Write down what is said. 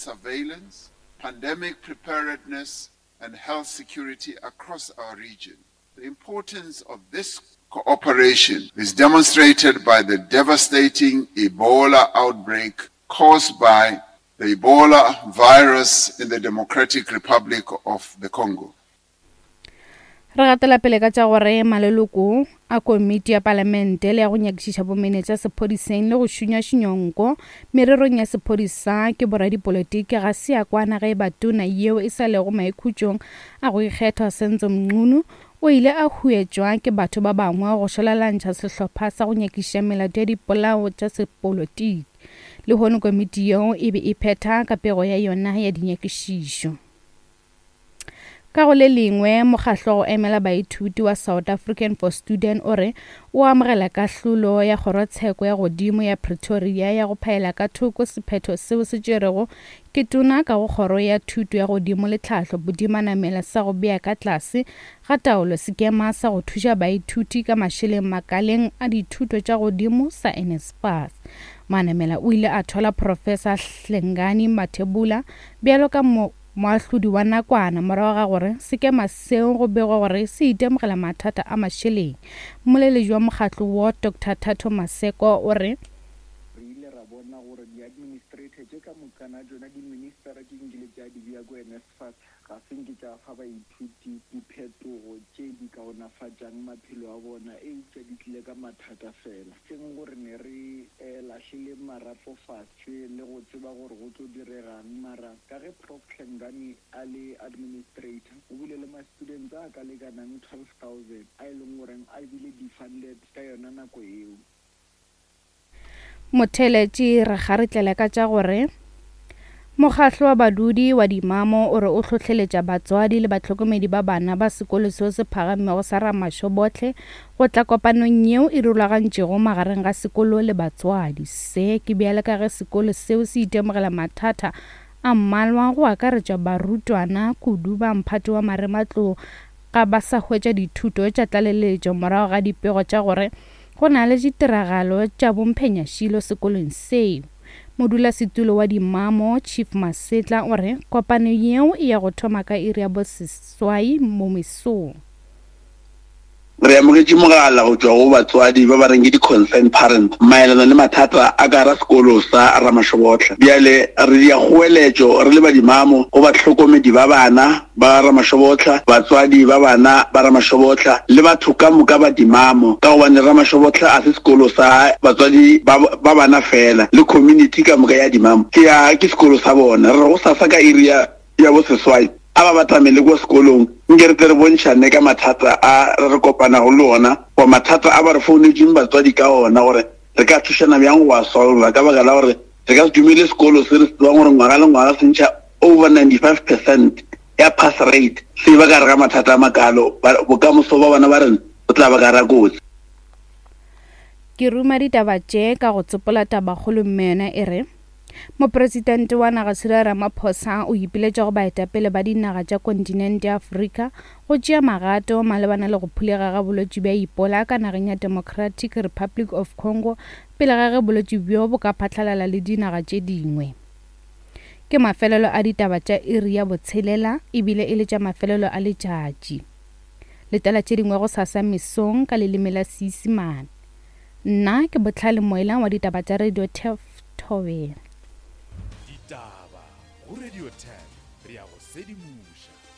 surveillance, pandemic preparedness, and health security across our region. The importance of this cooperation is demonstrated by the devastating Ebola outbreak caused by the Ebola virus in the Democratic Republic of the Congo. Re gatela pele ka tša gore maleloko a komiti ya palamente le ya go nyakišiša bomenetša sephodiseng le go šunyašunywa nko mererong ya sephodisa ke boradipolotiki ga se ya kwana ge e ba tona yeo e sa lego maikhutšong a go ikgethwa Senzo Mchunu o ile a huetšwa ke batho ba bangwe go šwalalantšha sehlopha sa go nyakišiša melato ya dipolao tša sepolotiki. Lehono komiti yeo e be e phetha ka pego ya yona ya dinyakišišo. Ka go le lengwe, mokgahlo wa go emela baithuti wa South African for Student o re o amogela kahlolo ya kgorotsheko ya godimo ya Pretoria ya go phaela ka thoko sephetho seo se tšerwego ke tona ka go kgoro ya thuto ya godimo le tlhahlo Bodimanamela sa go bea ka tlase ga taolo sekema sa go thuša baithuti ka mašeleng makaleng a dithuto tša godimo sa NSFAS. Manamela o ile a thwala Professor Hlengani Mathebula bjalo ka Moahlodi wa nakwana morago ga gore sekema seo go begwa gore se itemogela mathata a mašeleng. Mmoleledi wa mokgatlo wo, Doctor Thato Maseko o re. Re ile ra bona gore di-administrator tše ka mokana tšona, di-ministera tše nkile tša di bea ko NSFAS ga se nke tša fa baithuti diphetogo tše di kaonafatšang maphelo a bona eupša di tlile ka mathata fela. Seng gore ne re lahlile marapo fase. Tše le go tseba gore go tlo diregang mara ka ge Prof Hlengani a le administrator o bile le ma students a ka lekanang 12000 a e leng goreng a bile defunded ka yona nako eo. Motheeletši re kgaretlele ka tša gore Mokgahlo wa badudi wa Dimamo o re o hlohleletša batswadi le bahlokomedi ba bana ba sekolo seo se phagamego sa Ramashobohle go tla kopanong yeo e rulagantšwego magareng ga sekolo le batswadi. Se ke bjale ka ge sekolo seo se itemogela mathata a mmalwa go akaretša barutwana kudu ba mphato wa marematlou ga ba sa hwetša dithuto tša tlaleletšo morago ga dipego tša gore go na le ditiragalo tša bomphenyašilo sekolong seo. Modulasetulo wa Dimamo, Chief Masetla o re kopano yeo e ya go thoma ka iri ya boseswai mo mesong. Re amogetše mogala go tšwa go batswadi ba ba reng ke di-concerned parents maelana le mathata a ka gara sekolo sa Ramashobotla. Bjale re dia kgoeletšo re le badimamo go bahlokomedi ba bana ba Ramashobotla, batswadi ba bana ba Ramashobotla le batho ka moka ba dimamo ka gobane Ramashobotla a se sekolo sa batswadi ba ba bana fela le community ka moka ya dimamo ke ya ke sekolo sa bona. Re re gosasa ka iri ya ya boseswai a ba batamele kua sekolong, nke re tle re bontšhane ka mathata a re re kopanago le ona, goba mathata a ba re founetšeng batswadi ka ona, gore re ka thušana bjang go a solva, ka baka la gore re ka se dumele sekolo se re se tsebang gore ngwaga le ngwaga se ntšha over 95 percent ya pass rate se ba ka gare ga mathata a makalo, bokamoso ba bana ba rena bo tla ba ka gare ga kotsi. Ke ruma ditaba tše ka go tsopola tabakgolo mme yona e re, Mopresidente wa naga Cyril Ramaphosa o ipiletša go baetapele ba dinaga tša kontinente ya Afrika go tšea magato malebana le go phulega ga bolwetši bja Ebola ka nageng ya Democratic Republic of Congo pele ga ge bolwetši bjo bo ka phatlalala le dinaga tše dingwe. Ke mafelelo a ditaba tša iri ya botshelela ebile e le tša mafelelo a letšatši. Letela tše dingwe gosasa mesong ka leleme la Seisemane. Nna ke Bohlale Moela wa ditaba tša Radio Turf Thobela. Ditaba go Radio Turf, re a go sedimoša.